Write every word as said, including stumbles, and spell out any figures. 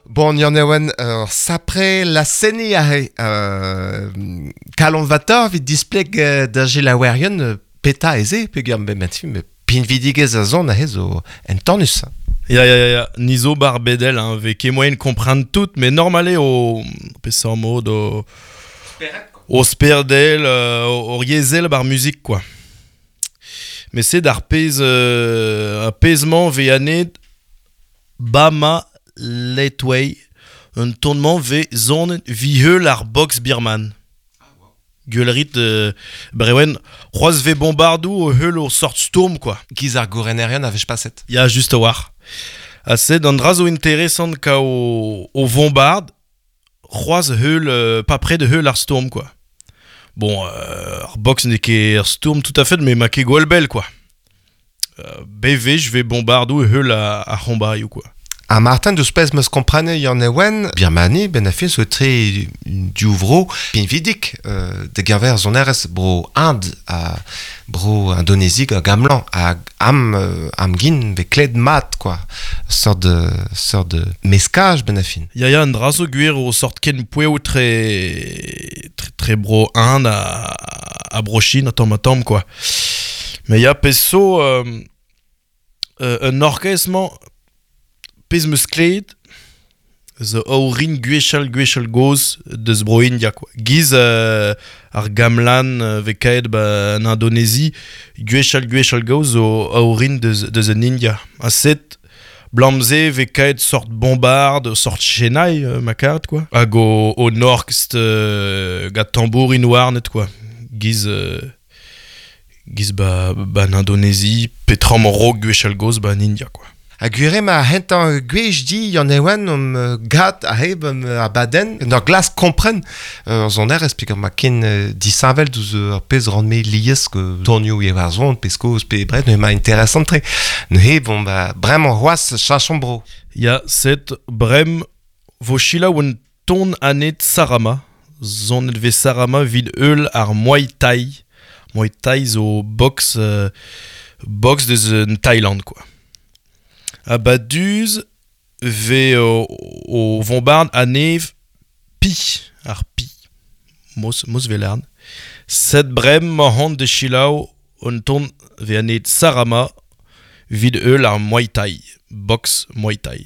Bon, Yann Ewen, euh, sapre la seni ahe, euh, kalon vator vid displeg euh, da gelaouerion euh, peta eze, peogwir be met me pinvidigez a zon ahe zo entanus. Ya, ya, ya, ya. Ni zo bar bedel, hein, ve ket moyen comprendre tout, mais normale o peseurt mod o o sperdel, euh, o riezel bar musique, quoi. Mais c'est d'ar pez, euh, apaisement ve anet Bama Letway, un tournement ve zon viheul ar box birman. Gueulerit euh, brewen, c'hoaz ve bombardou o heul o sort stourm, quoi. Giz ar gourenerion a vech paset. Ya, just a war. Ha sed an dra zo interesant ka o, o bombard, c'hoaz heul, euh, pas près de heul ar stourm, quoi. Bon, euh, ar box n'eo ket ar stourm tout à fait, mais ma ket gwell bell, quoi. Euh, B V, je vais bombardou heul a, a c'hombaioù, quoi. A Martin deus pezh meus komprene Yann Ewen, Birmani, ben a fin zo tre diouvro pinvidik euh, de gerver zonerez bro Inde a bro Indonésie a gamlan a am euh, am gin ve kled mat quoi. Sort de sort de meskaj ben a fin. Ya, ya, an dra zo gwir o sort ken poueo tre, tre, tre bro Inde a, a bro Chine, a tamm a tamm, quoi. Mais ya, pezh zo euh, euh, un orchestre pezh meus kleet zo aorin gwechall gwechall goz deus bro India, quoi. Giz euh, ar gamlan euh, ve kaet ba en Indonésie, gwechall gwechall goz zo aorin deus, deus en India. A set blamze ve kaet sort bombarde, sort chenai, euh, ma karet, quoi. Hag o, o norkst euh, gant tambourin warnet, quoi. Giz, euh, giz ba, ba en Indonésie, petram rog gwechall goz ba en India, quoi. A gwire ma hentañ gwech di Yann Ewen om euh, gat a heb um, a baden ur glas kompren euh, zonerez peogwir ma ken euh, disheñvel douzh ur pezh ran me lies ke tonioù e war zon pezh kozh pe bret ne ma interesant tre. Neuze bon ba bremañ c'hoazh chachon bro. Ya, set brem vo selaou un ton anet Sarama, zonet ve Sarama vid eul ar Muay Thai. Muay Thai zo box, euh, box deus en Thaïlande, quoi. A ba duz ve o, o vombard anev pi, ar pi, mos, mos velarn. Set brem ma hont de selaou un ton ve anet Sarama vid eul ar Muay Thai, box Muay Thai.